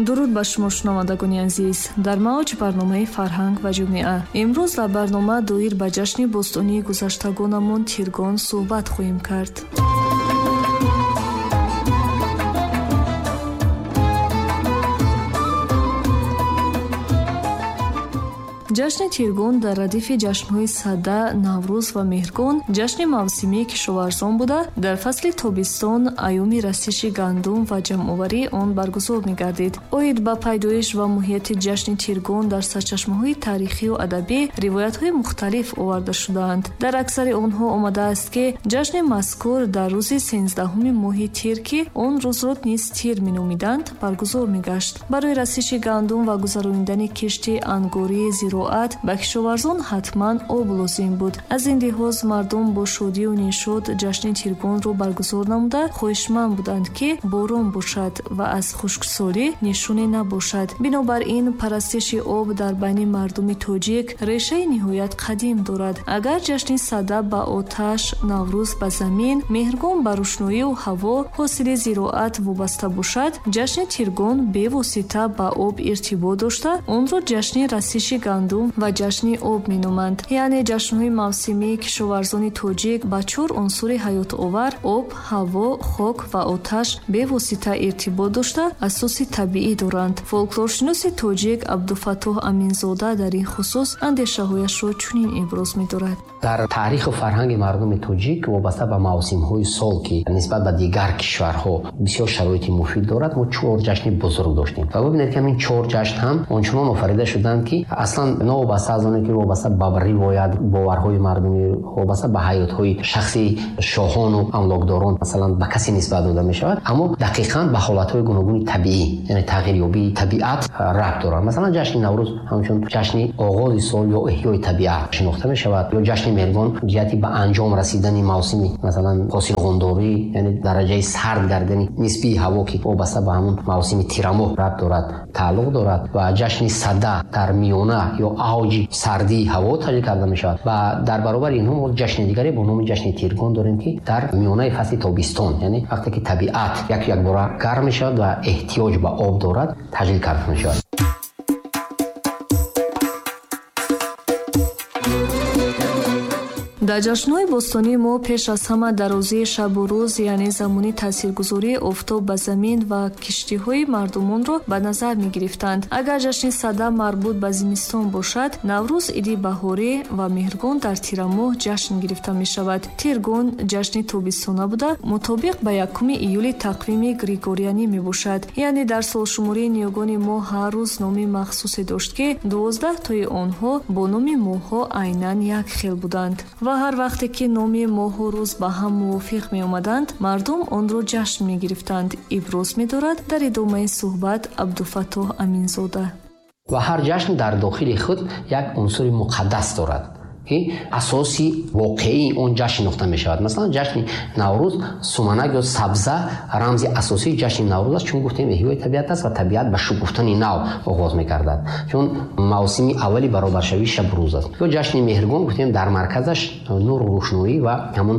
Дуруд ба шумо, шунавандагони азиз. Дар мавҷ барномаи «Фарҳанг ва ҷомеа». Имрӯз дар барнома доир ба ҷашни бостонии гузаштагонамон Тиргон суҳбат хоҳем кард. Ҷашни Тиргон дар радифи ҷашнҳои Сада, Наврӯз ва Меҳргон ҷашни мавсимии кишоварзон буда, дар фасли тобистон, айёми расиши гандум ва ҷамъоварии он баргузор мегардид. Оид ба пайдоиш ва моҳияти ҷашни Тиргон дар сарчашмаҳои таърихию адабӣ ривоятҳои мухталиф оварда шудаанд. Дар аксари онҳо омадааст, ки ҷашни мазкур дар рӯзи 13-уми моҳи тир, ки он рӯзро низ тир меномиданд, баргузор мегашт. Барои расиши гандум ва гузаронидани кишти ангурии зироат ба кишоварзон ҳатман об лозим буд. Аз ин лиҳоз мардум бо шодию нишод ҷашни Тиргонро баргузор намуда, хоҳишманд буданд, ки борон бошад ва аз хушксолӣ нишоне набошад. Бинобар ин парастиши об дар байни мардуми тоҷик решаи ниҳоят қадим дорад. Агар ҷашни Сада ба оташ, Наврӯз ба замин, Меҳргон ба рӯшноию ҳаво, ҳосили зироат вобаста бошад, ҷашни Тиргон бевосита ба об иртибот дошта, онро ҷашни расиши гандум ва ҷашни об меноманд. Яъне ҷашнҳои мавсимии кишоварзони тоҷик ба чор унсури ҳаётовар об, ҳаво, хок ва оташ бевосита иртибот дошта, асоси табиӣ доранд. Фолклоршиноси тоҷик Абдуфаттоҳ Аминзода дар ин хусус андешаҳояшро чунин иброз медорад. Дар таъриху фарҳанги мардуми тоҷик вобаста ба мавсимҳои сол, ки нисбат ба дигар кишварҳо бисёр шароити муфид дорад, мо чор ҷашни бузург доштем. Ва бибинед, ки ҳамин чор ҷашн ҳам ончунон офарида шуданд, ки аслан новобаста аз оне ки вобаста ба ривоят, боварҳои мардумӣ, вобаста ба ҳаётҳои шахсии шоҳону амлокдорон масалан ба касе нисбат дода мешавад, аммо дақиқан ба ҳолатҳои гуногуни табиӣ, яъне тағйирёбии табиат рабт дорад. Масалан, ҷашни Наврӯз ҳамчун ҷашни оғози сол ё эҳёи табиат шинохта мешавад, ё ҷашни Меҳргон ҷиҳати ба анҷом расидани мавсими масалан ҳосилғондорӣ, яъне дараҷаи сард гардани нисбии ҳаво, ки вобаста ба ҳамун мавсими тирамоҳ рабт дорад, тааллуқ дорад. Ва ҷашни Сада дар миёна ё авҷи сардии ҳаво таҷлил карда мешавад. Ва дар баробари инҳо мо ҷашни дигаре бо номи ҷашни Тиргон дорем, ки дар миёнаи фасли тобистон, яъне вақте ки табиат як якбора гарм мешавад ва эҳтиёҷ ба об дорад, таҷлил карда мешавад. Дар ҷашнҳои бостонии мо пеш аз ҳама дарозии шабу рӯз, яъне замони таъсиргузории офтоб ба замин ва киштиҳои мардумонро ба назар мегирифтанд. Агар ҷашни Сада марбут ба зимистон бошад, Наврӯз иди баҳорӣ ва Меҳргон дар тирамоҳ ҷашн гирифта мешавад. Тиргон ҷашни тобистона буда, мутобиқ ба 1 июли тақвими григорианӣ мебошад. Яъне дар солшумории ниёгони мо ҳар рӯз номи махсусе дошт, ки 12 тои онҳо бо номи моҳҳо айнан як хел буданд. Ва ҳар вақте ки номи моҳу рӯз ба ҳам мувофиқ меомаданд, мардум онро ҷашн мегирифтанд. Иброз медорад дар идомаи суҳбат Абдуфаттоҳ Аминзода. Ва ҳар ҷашн дар дохили худ як унсури муқаддас дорад, ки асоси воқеии он ҷашн шинохта мешавад. Масалан, ҷашни Наврӯз суманак ё сабза рамзи асосии ҷашни Наврӯз аст, чун гуфтем эҳёи табиат аст ва табиат ба шукуфтани нав оғоз мекардад, чун мавсими аввали баробаршавии шабу рӯз аст. Ё ҷашни Меҳргон гуфтем дар марказаш нуру рӯшноӣ ва ҳамун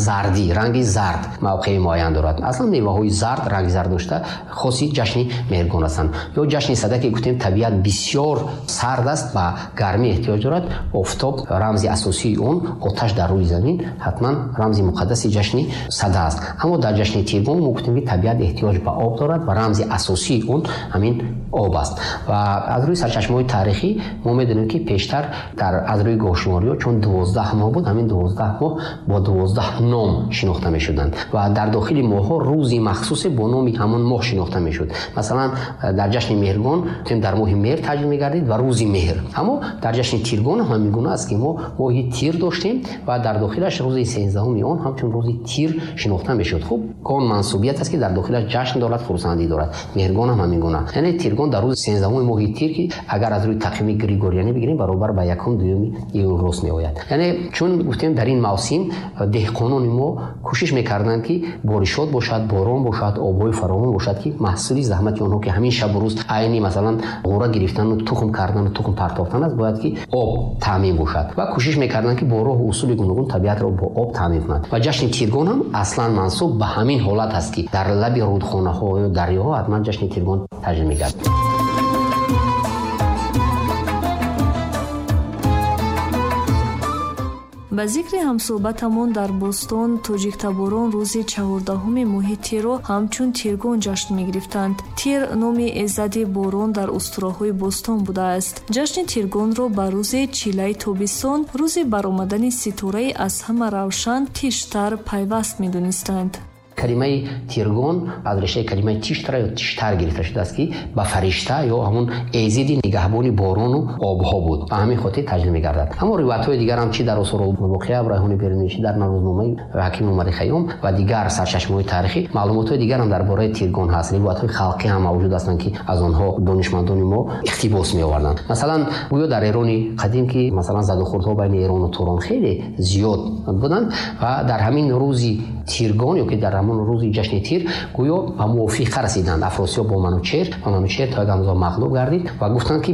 зардӣ, ранги зард мавқеи муайян дорад. Аслан меваҳои зард, ранги зард дошта хоси ҷашни Меҳргон ҳастанд. Ё ҷашни Сада, ки гуфтем табиат бисёр сард аст, ба гармӣ эҳтиёҷ дорад, офтоб рамзи асосии он, оташ дар рӯи замин, ҳатман рамзи муқаддаси ҷашни Сада аст. Аммо дар ҷашни Тиргон мо гуфтем, ки табиат эҳтиёҷ ба об дорад ва рамзи асосии он ҳамин об аст. Ва аз рӯи сарчашмаҳои таърихӣ мо медонем, ки пештар дар аз рӯи гоҳшумориҳо чун 12 моҳ буд, ҳамин 12 моҳ бо 12 ном шинохта мешуданд ва дар дохили моҳҳо рӯзи махсусе бо номи ҳамон моҳ шинохта мешуд. Масалан, дар ҷашни Меҳргон гуфтем дар моҳи меҳр таҷлил мегардид ва рӯзи меҳр. Аммо дар ҷашни Тиргон ҳам ҳамин гуна аст, ки мо моҳи тир доштем ва дар дохилаш рӯзи 13-уми он ҳамчун рӯзи тир шинохта мешуд. Хуб, гон мансубият аст, ки дар дохилаш ҷашн дорад, хурсандӣ дорад. Меҳргон ҳам ҳамин гуна. Яъне Тиргон дар рӯзи 13-уми моҳи тир, ки агар аз рӯи тақвими григорианӣ бигирем, баробар ба 1-2 июл рост меояд. Яъне чун гуфтем дар ин мавсим деҳқонони мо кӯшиш мекарданд, ки боришот бошад, борон бошад, обҳои фаровон бошад, ки маҳсули заҳмати онҳо, ки ҳамин шабу рӯз айни масалан ғӯра гирифтану тухм кардану тухм партофтан аст, бояд ки об таъмин бошад. Ва Кӯшиш мекарданд, ки бо роҳу усули гуногун табиатро бо об таъмин кунанд. Ва ҷашни Тиргон ҳам аслан мансуб ба ҳамин ҳолат аст, ки дар лаби рудхонаҳо ё дарёҳо ҳатман ҷашни Тиргон таҷлил мегардад. Ба зикри ҳамсӯҳбатамон дар бостон тоҷиктаборон рӯзи 14 моҳи тирро ҳамчун Тиргон ҷашн мегирифтанд. Тир номи эзади борон дар устураҳои бостон будааст. Ҷашни Тиргонро ба рӯзи чилаи тобистон, рӯзи баромадани ситораи аз ҳама равшан Тиштар пайваст медонистанд. Калимаи Тиргон аз решаи калимаи тиштра ё тиштар гирифта шудааст, ки ба фаришта ё ҳамон эзиди нигаҳбони борону обҳо буд. Ба ҳамин хотир таҷлил мегардад. Аммо ривоятҳои дигар ҳам чи дар Осорулбоқия Райҳони Берунӣ, чи дар Наврӯзномаи Ҳаким Умари Хайём ва дигар сарчашмаҳои таърихӣ маълумотҳои дигар ҳам дар бораи Тиргон ҳаст. Ривоятҳои халқӣ ҳам мавҷуд ҳастанд, ки аз онҳо донишмандони мо иқтибос меоварданд. Масалан, гӯё дар Эрони қадим, ки масалан задухӯрдҳо байни Эрон ва Турон хеле зиёд буданд ва дар ҳамин рӯзи Тиргон ё ки дар ҳамон рӯзи ҷашни Тир гӯё ба мувофиқа расиданд Афросиёб бо Манучеҳр ва Манучеҳр то як андоза мағлуб гардид ва гуфтанд, ки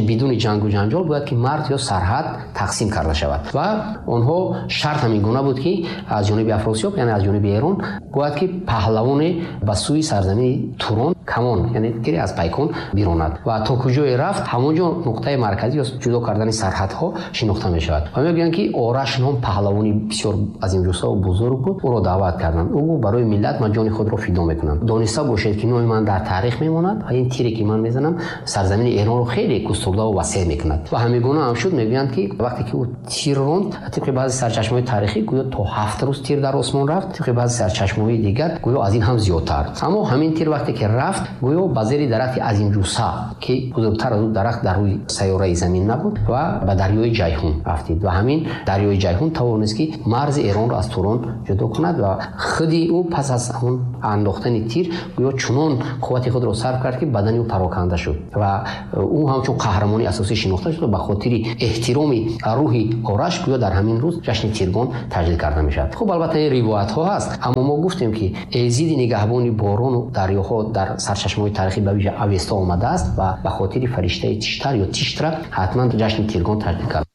бидуни ҷангу ҷанҷол бояд ки марз ё сарҳад тақсим карда шавад. Ва онҳо шарт ҳамин гуна буд, ки аз ҷониби Афросиёб, яъне аз ҷониби Эрон, бояд ки паҳлавоне ба сӯи сарзамини Турон камон, яъне тире аз пайкон биронад ва то куҷое рафт, ҳамон ҷо нуқтаи марказӣ ё ҷудо кардани сарҳадҳо шинохта мешавад. Ва мегӯянд, ки Ораш ном паҳлавони бисёр азимҷусса ва бузург буд, ӯро даъват карданд. Ӯ гуфт: барои миллат ман ҷони худро фидо мекунам. Дониста бошед, ки номи ман дар таърих мемонад ва ин тире, ки ман мезанам, сарзамини Эронро хеле густурда ва васеъ мекунад. Ва ҳамин гуна ҳам шуд. Мегӯянд, ки вақте ки ӯ тир ронд, тибқи баъзе сарчашмаҳои таърихӣ гӯё то 7 рӯз тир дар осмон рафт, тибқи баъзе сарчашмаҳои дигар гӯё аз ин ҳам зиёдтар. Аммо ҳамин тир вақте ки рафт, гӯё ба зери дарахти азимҷусса, ки бузургтар аз ӯ дарахт дар рӯи сайёраи замин набуд, ва ба дарёи Ҷайҳун афтид. Ва ҳамин дарёи Ҷайҳун тавонист, ки марзи Эронро аз Турон ҷудо кунад ва худи ӯ пас аз он андохтани тир гӯё чунон қуввати худро сарф кард, ки бадани ӯ пароканда шуд ва ӯ ҳамчун қаҳрамони асосӣ шинохта шуд ва ба хотири эҳтироми рӯҳи Ораш гӯё дар ҳамин рӯз ҷашни Тиргон таҷлил карда мешавад. Хуб, албатта ин ривоятҳо ҳаст, аммо мо гуфтем, ки эзиди нигаҳбони борону дарёҳо дар сарчашмаҳои таърихӣ ба вижа Авесто омадааст ва ба хотири фариштаи Тиштар ё Тиштра ҳатман ҷашни Тиргон таҷлил кард.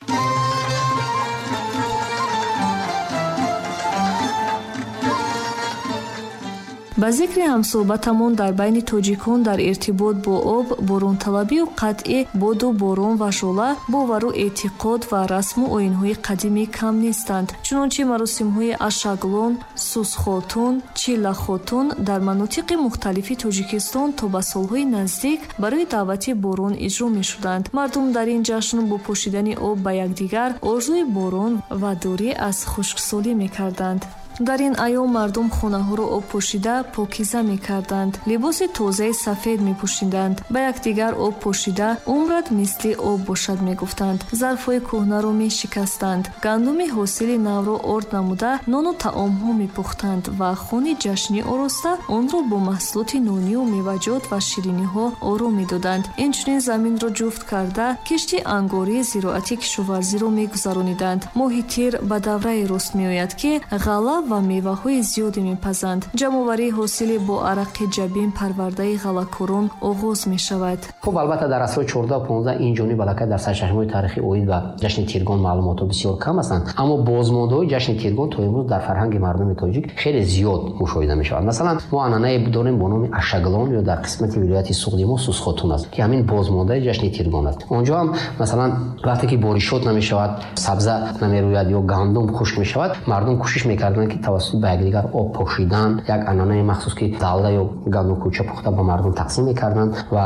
Ба зикри ҳамсӯҳбатамон дар байни тоҷикон дар иртибот бо об, боронталабию қатъи боду борон ва жола бовару эътиқод ва расму оинҳои қадимӣ кам нестанд. Чунончи маросимҳои Ашаглон, Сусхотун, Чиллахотун дар манотиқи мухталифи Тоҷикистон то ба солҳои наздик барои даъвати борон иҷро мешуданд. Мардум дар ин ҷашн бо пошидани об ба якдигар орзуи борон ва дурӣ аз хушксолӣ мекарданд. Дар ин айём мардум хонаҳоро об пошида покиза мекарданд, либоси тозаи сафед мепӯшиданд, ба якдигар об пошида умрат мисли об бошад мегуфтанд, зарфҳои кӯҳнаро мешикастанд, гандуми ҳосили навро орд намуда нону таомҳо мепухтанд ва хони ҷашнӣ ороста онро бо маҳсулоти нонию меваҷот ва шириниҳо оро медоданд. Инчунин заминро ҷуфт карда кишти ангории зироати кишоварзиро мегузарониданд. Моҳи тир ба давраи рост меояд, ки ғалла ва меваҳои зиёде мепазанд. Ҷамъоварии ҳосили бо арақи ҷабин парвардаи ғаллакорон оғоз мешавад. Хуб, албатта дар асрҳои 14-15 ин ҷониб аллакай дар сарчашмаҳои таърихӣ оид ба ҷашни Тиргон маълумотҳо бисёр кам ҳастанд, аммо бозмондаҳои ҷашни Тиргон то имрӯз дар фарҳанги мардуми тоҷик хеле зиёд мушоҳида мешавад. Масалан, мо анъанае дорем бо номи Ашаглон ё дар қисмати вилояти Суғди мо Сусхотун аст, ки ҳамин бозмондаи ҷашни Тиргон аст. Онҷо ҳам масалан вақте ки боришот намешавад, сабза намерӯяд ё гандум хушк мешавад, мардум кӯшиш мекарданд, ки тавассути ба якдигар об пошидан, як анъанаи махсус, ки далла ё гандум кӯча пухта ба мардум тақсим мекарданд ва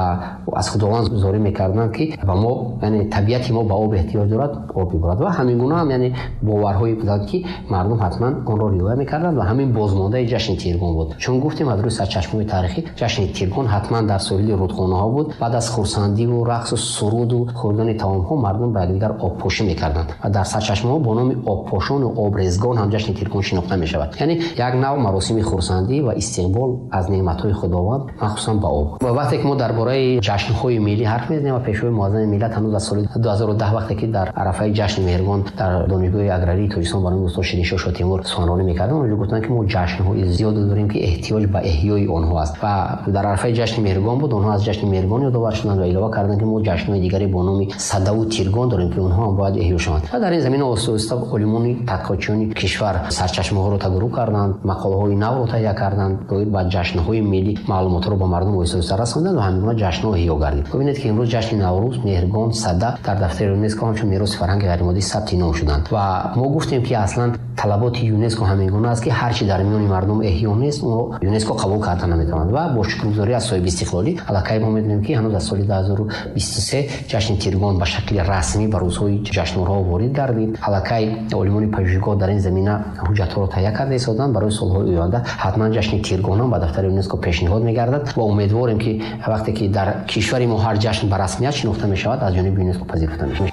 аз Худованд зорӣ мекарданд, ки ба мо, яъне табиати мо ба об эҳтиёҷ дорад, об биборад. Ва ҳамин гуна ҳам яъне боварҳое буданд, ки мардум ҳатман онро риоя мекарданд ва ҳамин бозмондаи ҷашни Тиргон буд. Чун гуфтем аз рӯи сарчашмаҳои таърихӣ ҷашни Тиргон ҳатман дар соҳили рудхонаҳо буд. Баъд аз хурсандиву рақсу суруду хӯрдани таомҳо мардум ба якдигар обпошӣ мекарданд ва дар сарчашмаҳо бо номи обпошону обрезгон ҳам ҷашни Тиргон шинохта мешавад. Яъне як нав маросими хурсандӣ ва истиқбол аз неъматҳои Худованд, махсусан ба об. Ва вақте ки мо дар бораи ҷашнҳои миллӣ ҳарф мезанем ва Пешвои муаззами миллат ҳанӯз аз соли 2010 вақте ки дар арафаи ҷашни Меҳргон дар Донишгоҳи аграрии Тоҷикистон ба номи устод Шириншоҳ Шотимур суханронӣ мекарданд, онҷо гуфтанд, ки мо ҷашнҳои зиёде дорем, ки эҳтиёҷ ба эҳёи онҳо аст. Ва дар арафаи ҷашни Меҳргон буд, онҳо аз ҷашни Меҳргон ёдовар шуданд ва илова карданд, ки мо ҷашнҳои дигаре бо номи Садаву Тиргон дорем, ки онҳо ҳам бояд эҳё шаванд. Ва дар ин замина оҳиста-оҳиста олимони тадқиқотчиёни кишвар сарчашмаҳоро тадорук карданд, мақолаҳои навро таҳия карданд, доир ба ҷашнҳои миллӣ маълумотҳоро ба мардум оҳиста-оҳиста расонданд ва ҳамин гуна ҷашнҳо эҳё гардид. Бубинед, ки имрӯз ҷашни Наврӯз, Меҳргон, Сада дар дафтари ЮНЕСКО ҳамчун мероси фарҳанги ғайримоддӣ сабти ном шуданд. Ва мо гуфтем, ки аслан талаботи ЮНЕСКО ҳамин гуна аст, ки ҳар чи дар миёни мардум эҳё нест, онро ЮНЕСКО қабул карда наметавонад. Ва бо шукргузорӣ аз соҳиби истиқлолӣ аллакай мо медонем, ки ҳанӯз аз соли 2023 ҷашни Тиргон ба шакли расмӣ ба рӯзҳои ҷашнворҳо ворид гардид. Аллакай олимони пажӯҳишгоҳ дар ин замина ҳуҷҷатҳоро таҳия карда истоданд. Барои солҳои оянда ҳатман ҷашни Тиргон ҳам ба дафтари ЮНЕСКО пешниҳод мегардад ва умедворем, ки вақте ки дар кишвари мо ҳар ҷашн ба расмият шинохта мешавад, аз ҷониби ЮНЕСКО пазируфта мешавад.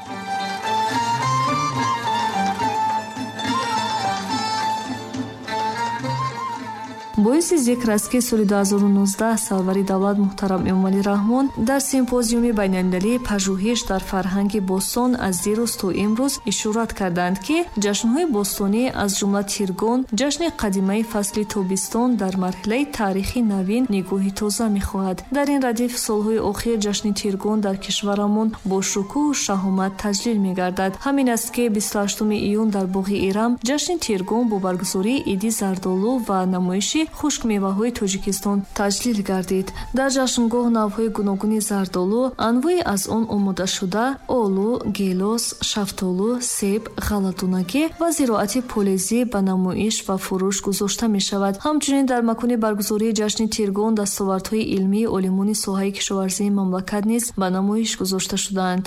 Боиси зикр аст, ки соли 2019 сарвари давлат муҳтарам Эмомалӣ Раҳмон дар симпозиуми байналмилалии пажӯҳиш дар фарҳанги бостон аз дирӯз то имрӯз ишорат карданд, ки ҷашнҳои бостонӣ, аз ҷумла Тиргон, ҷашни қадимаи фасли тобистон, дар марҳилаи таърихи навин нигоҳи тоза мехоҳад. Дар ин радиф солҳои охир ҷашни Тиргон дар кишварамон бо шукӯҳу шаҳомат таҷлил мегардад. Ҳамин аст, ки 28 июн дар боғи Ирам ҷашни Тиргон бо баргузории иди зардолу ва намоиши хушкмеваҳои Тоҷикистон таҷлил гардид. Дар ҷашнгоҳ навъҳои гуногуни зардолу, анвои аз он омодашуда, олу, гелос, шафтолу, себ, ғалладонагӣ ва зироати полезӣ ба намоиш ва фурӯш гузошта мешавад. Ҳамчунин дар макони баргузории ҷашни Тиргон дастовардҳои илмии олимони соҳаи кишоварзии мамлакат низ ба намоиш гузошта шудаанд.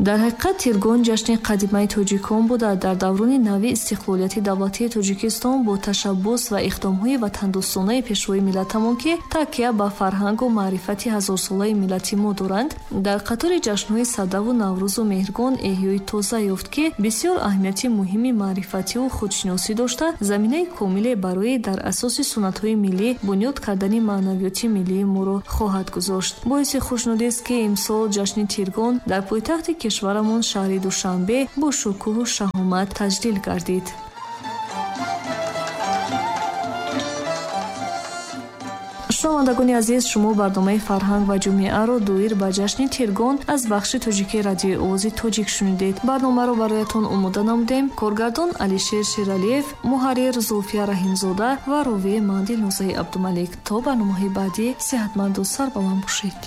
Дар ҳақиқат Тиргон ҷашни қадимаи тоҷикон буда, дар даврони нави истиқлолияти давлатии Тоҷикистон бо ташаббус ва иқдомҳои ватандӯстонаи пешвои миллатамон, ки такя ба фарҳангу маърифати ҳазорсолаи миллати мо доранд, дар қатори ҷашнҳои Садаву Наврӯзу Меҳргон эҳёи тоза ёфт, ки бисёр аҳамияти муҳими маърифативу худшиносӣ дошта, заминаи комиле барои дар асоси суннатҳои миллӣ бунёд кардани маънавиёти миллии моро хоҳад гузошт. Боиси хушнудист, ки имсол ҷашни Тиргон дар пойтахти кишварамон шаҳри Душанбе бо шукӯҳу шаҳомат таҷлил гардид. Шунавандагони азиз, шумо барномаи фарҳанг ва ҷомеаро доир ба ҷашни Тиргон аз бахши тоҷикии радиои Овози Тоҷик шунидед. Барномаро бароятон омода намудем коргардон Алишер Шералиев, муҳаррир Зулфия Раҳимзода ва ровии ман Дилнозаи Абдумалик. То барномаҳои баъдӣ сеҳатманду сарбаланд бошед.